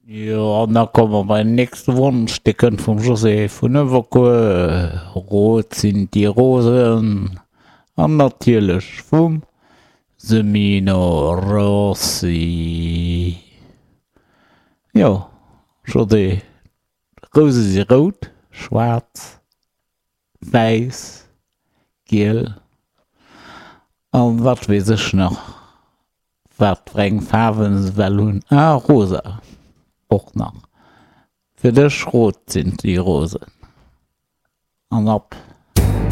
Jo, an da komme mer bei den nächste Wonsch, dee kënnt vum José vun Uewerkuer, Rot sind die Rosen, an natierlech vum Semino Rossi. Jo, José, d'Rouse si rout, schwaarz, wäiss, giel an wat weess ech nach. Wat fir eng Faarwen se well hunn. Ah, rosa och nach. Fir dech, rot sind die Rosen. An ab.